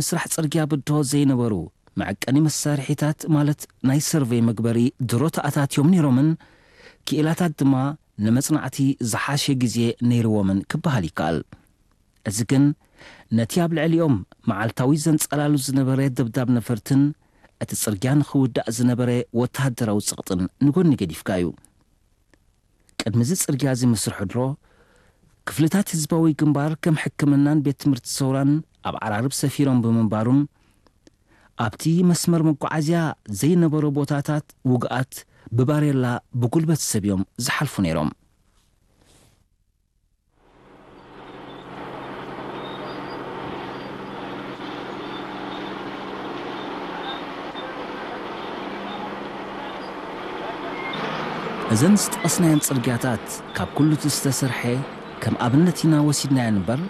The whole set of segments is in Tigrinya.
ምስራሕ ጽርግያ ብድሆ ዘይነበሩ መዐቀኒ መሳርሒታት፣ ማለት ናይ ሰርቬይ መግበሪ ድሮ ተኣታትዮም ነይሮምን፣ ክኢላታት ድማ ንመጽናዕቲ ዝሓሸ ግዜ ነይርዎምን ክበሃል ይከኣል። እዚ ግን ነቲ ኣብ ልዕሊኦም መዓልታዊ ዘንጸላሉ ዝነበረ ደብዳብ ነፈርትን እቲ ጽርግያ ንኽውዳእ ዝነበረ ወተሃደራዊ ጸቕጥን ንጎኒ ገዲፍካ እዩ። ቅድሚ እዚ ጽርግያ እዚ ምስርሑ ድሮ፣ ክፍልታት ህዝባዊ ግንባር ከም ሕክምናን ቤት ትምህርቲ ሰውራን ኣብ ዓራርብ ሰፊሮም ብምንባሩን፣ ኣብቲ መስመር መጓዓዝያ ዘይነበሮ ቦታታት ውግኣት ብባሬላ ብጉልበት ሰብ እዮም ዝሓልፉ ነይሮም። እዘን ዝጠቐስናየን ጽርግያታት ካብ ኩሉ እቲ ዝተሰርሐ ከም ኣብነት ኢና ወሲድናየን እምበር፣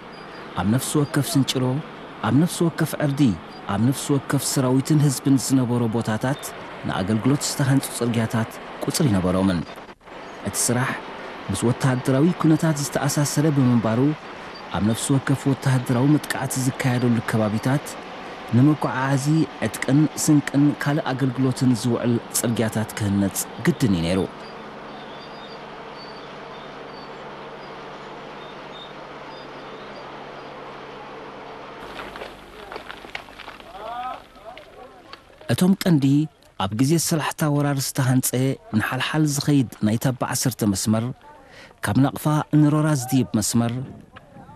ኣብ ነፍሲ ወከፍ ስንጭሮ፣ ኣብ ነፍሲ ወከፍ ዕርዲ፣ ኣብ ነፍሲ ወከፍ ሰራዊትን ህዝብን ዝነበሮ ቦታታት ንኣገልግሎት ዝተሃንጹ ጽርግያታት ቁጽሪ ነበሮምን። እቲ ስራሕ ምስ ወተሃደራዊ ኩነታት ዝተኣሳሰረ ብምንባሩ፣ ኣብ ነፍሲ ወከፍ ወተሃደራዊ መጥቃዕቲ ዝካየደሉ ከባቢታት ንመጓዓዓዚ ዕጥቅን ስንቅን ካልእ ኣገልግሎትን ዝውዕል ጽርግያታት ክህነጽ ግድን እዩ ነይሩ። እቶም ቀንዲ ኣብ ግዜ ሰላሕታ ወራር ዝተሃንጸ ንሓልሓል ዝኸይድ ናይ ታባ ዓሰርተ መስመር፣ ካብ ናቕፋ ንሮራ ዝድይብ መስመር፣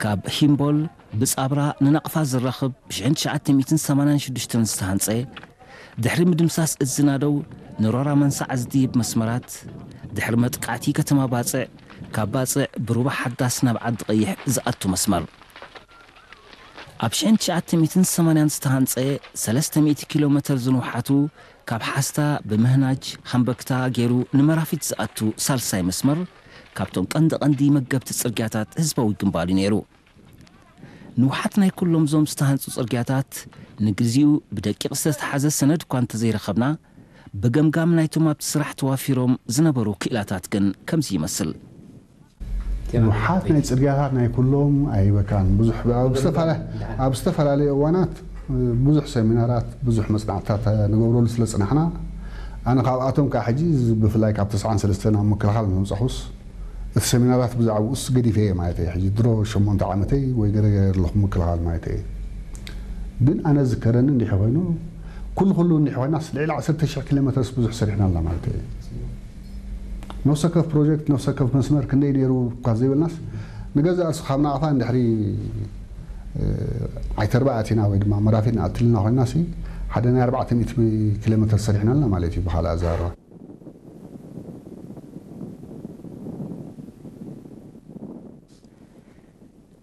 ካብ ሂምቦል ብጻብራ ንናቕፋ ዝራኸብ ብ ትሽዓተ ሚእትን ሰማንያን ሽዱሽተን ዝተሃንጸ፣ ድሕሪ ምድምሳስ እዚ ናደው ንሮራ መንሳዕ ዝድይብ መስመራት፣ ድሕሪ መጥቃዕቲ ከተማ ባጽዕ፣ ካብ ባጽዕ ብሩባ ሓዳስ ናብ ዓዲ ቀይሕ ዝኣቱ መስመር። ኣብ ሽሕን ትሽዓተ ሚእትን ሰማንያን ዝተሃንጸ ሰለስተ ሚእቲ ኪሎ ሜተር ዝንውሓቱ፣ ካብ ሓስታ ብምህናጅ ሃምበክታ ገይሩ ንመራፊት ዝኣቱ ሳልሳይ መስመር፣ ካብቶም ቀንዲ ቀንዲ መገብቲ ጽርግያታት ህዝባዊ ግንባር እዩ ነይሩ። ንውሓት ናይ ኩሎም ዞም ዝተሃንጹ ጽርግያታት ንግዚኡ ብደቂቕ ዝተተሓዘ ሰነድ እኳ እንተዘይረኸብና፣ ብገምጋም ናይቶም ኣብቲ ስራሕ ተዋፊሮም ዝነበሩ ክኢላታት ግን ከምዚ ይመስል። ንውሓት ናይ ጽርግያታት ናይ ኩሎም ኣይበካን። ብዙሕ ኣብ ዝተፈላለ-፣ ኣብ ዝተፈላለዩ እዋናት ብዙሕ ሰሚናራት፣ ብዙሕ መጽናዕትታት ንገብረሉ ስለ ጽናሕና፣ ኣነ ካብኣቶም ከዓ ሕጂ ብፍላይ ካብ ተስዓን ሰለስተን ኣብ ምክልኻል ምስ መጻኹስ፣ እቲ ሰሚናራት ብዛዕባኡስ ገዲፈ እየ ማለት እየ። ሕጂ ድሮ ሸሞንተ ዓመተይ ወይ ገለ ገለ ኣለኹ ምክልኻል ማለት እየ። ግን ኣነ ዝከረኒ እንዲሒ ኮይኑ፣ ኩሉ ኩሉ እንዲሒ ኮይናስ ልዕሊ ዓሰርተ ሽሕ ኪሎ ሜትርስ ብዙሕ ሰሪሕና ኣለና ማለት እየ። ነፍሲ ወከፍ ፕሮጀክት፣ ነፍሲ ወከፍ መስመር ክንደይ ነይሩ እኳ ዘይበልናስ፣ ንገዛእ ርእሱ ካብ ናቕፋ እንድሕሪ፣ እ፣ ዓይተርባ ኣቲና ወይ ድማ መራፊት ንኣትልና ኮይናሲ፣ ሓደ ናይ ኣርባዕተ ሚእቲ ኪሎ ሜትር ሰሪሕና ኣለና ማለት እዩ ብኻልእ ኣዘራርባ።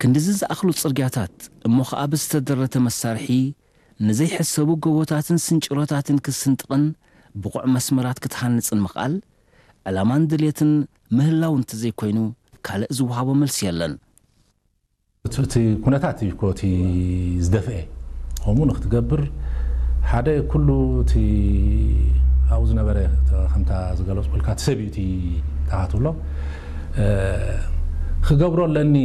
ክንድዚ ዝኣኽሉ ጽርግያታት እሞ ኸኣ ብዝተደረተ መሳርሒ ንዘይሕሰቡ ጎቦታትን ስንጭሮታትን ክትስንጥቕን ብቑዕ መስመራት ክትሃንጽን ምኽኣል፣ ዕላማን ድልየትን ምህላው እንተዘይኮይኑ ካልእ ዝወሃቦ መልሲ የለን። እቲ፣ እቲ ኩነታት እዩ እኮ እቲ ዝደፍአ። ከምኡ ንክትገብር ሓደ ኩሉ እቲ ኣብኡ ዝነበረ፣ ከምታ ዝገለጽኩልካ እቲ ሰብ እዩ እቲ ተኻትብሎ። እ፣ ክገብሮ ኣለኒ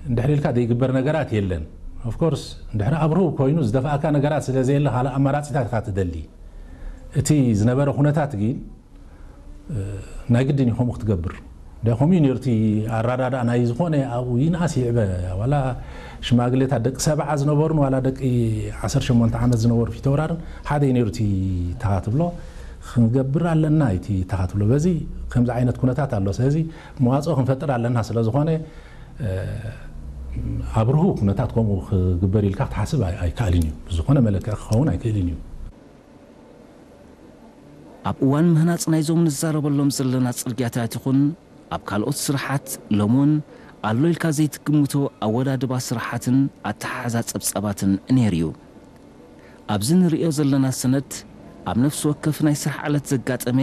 እንድሕር ኢልካ ዘይግበር ነገራት የለን። ኦፍኮርስ እንድሕር ኣብርሁ ኮይኑ ዝደፍኣካ ነገራት ስለ ዘየለ ካልእ ኣማራጺታት ኢኻ ትደሊ። እቲ ዝነበረ ኩነታት ግን ናይ ግድን እዩ ከምኡ ክትገብር። ደ ከምኡ እዩ ነይሩ እቲ ኣረዳድኣ ናይ ዝኾነ ኣብኡ ይንኣስ ይዕበ፣ ዋላ ሽማግሌታት ደቂ ሰብዓ ዝነበሩን ዋላ ደቂ ዓሰርተ ሸሞንተ ዓመት ዝነበሩ ፊተውራርን ሓደ እዩ ነይሩ እቲ ተኻ ትብሎ። ክንገብር ኣለና እቲ ተኻ ትብሎ። በዚ ከምዚ ዓይነት ኩነታት ኣሎ። ስለዚ መዋፅኦ ክንፈጥር ኣለና ስለ ዝኾነ፣ እ፣ ኣብርሁ ኩነታት ከምኡ ክግበር ኢልካ ክትሓስብ ኣይ-፣ ኣይከኣልን እዩ። ብዝኾነ መለክዒ ክኸውን ኣይክእልን እዩ። ኣብ እዋን ምህናጽ ናይዞም ንዛረበሎም ዘለና ጽርግያታት ይኹን ኣብ ካልኦት ስራሓት፣ ሎሚ እውን ኣሎ ኢልካ ዘይትግምቶ ኣወዳድባ ስራሓትን ኣተሓሕዛ ጸብጻባትን ነይሩ እዩ። ኣብዚ ንርእዮ ዘለና ሰነድ፣ ኣብ ነፍሲ ወከፍ ናይ ስራሕ ዕለት ዘጋጠመ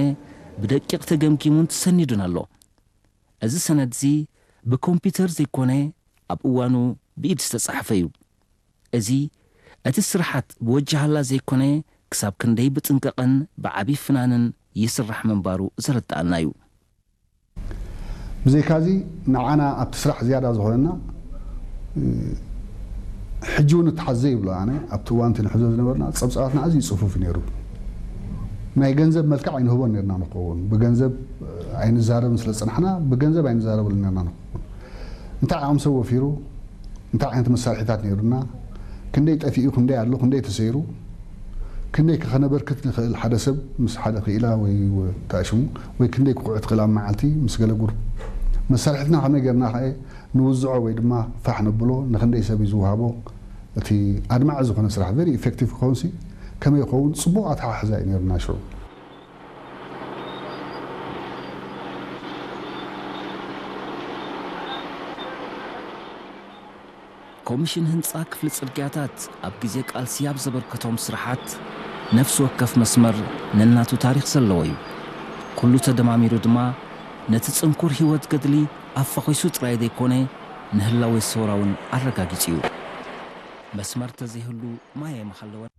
ብደቂቕ ተገምጊሙን ተሰኒዱን ኣሎ። እዚ ሰነድዚ ብኮምፒውተር ዘይኮነ፣ ኣብ እዋኑ ብኢድ ዝተጻሕፈ እዩ። እዚ፣ እቲ ስርሓት ብወጃሃላ ዘይኮነ፣ ክሳብ ክንደይ ብጥንቃቐን ብዓቢ ፍናንን ይስራሕ ምንባሩ ዘረድኣና እዩ። ብዘይካዚ፣ ንዓና ኣብቲ ስራሕ ዝያዳ ዝኾነና፣ እ፣ ሕጂ እውን እተሓዘ ይብሎ ኣነ ኣብቲ እዋን እቲ ንሕዞ ዝነበርና ጸብጻባትና ኣዝዩ ጽፉፍ እዩ ነይሩ። ናይ ገንዘብ መልክዕ ኣይንህቦን ነርና ንኸውን ብገንዘብ ኣይንዛረብን ስለ ዝጸናሕና ብገንዘብ ኣይንዛረበሉ ነርና ንኸውን። እንታይ ዓቕሚ ሰብ ወፊሩ እንታይ ዓይነት መሳርሒታት ነይሩና ክንደይ ጠፊኡ ክንደይ ኣሎ ክንደይ ተሰይሩ ክንደይ ከኸነበርክት ንኽእል ሓደ ሰብ ምስ ሓደ ክኢላ ወይ ተኣሽሙ ወይ ክንደይ ክቑዕ ትኽእል ኣብ መዓልቲ ምስ ገለ ጉር መሳርሒትና ከመይ ገርና ከ ንውዝዖ ወይ ድማ ፋሕ ነብሎ ንክንደይ ሰብ እዩ ዝውሃቦ እቲ ኣድማዒ ዝኾነ ስራሕ very effective ክኸውን ሲ ከመይ ይኸውን ጽቡቕ ኣተሓሕዛ እዩ ነይሩና ሽዑ። ኮሚሽን ህንፃ ክፍሊ ፅርግያታት ኣብ ግዜ ቃልሲ ኣብ ዘበርከቶም ስራሓት ነፍሲ ወከፍ መስመር ነናቱ ታሪኽ ዘለዎ እዩ። ኩሉ ተደማሚሩ ድማ ነቲ ጽንኩር ህይወት ገድሊ ኣፋኺሱ ጥራይ ዘይኮነ ንህላወ ሰውራ እውን ኣረጋጊጹ እዩ። መስመር ተዘይህሉ ማይ ኣይምሃለወን።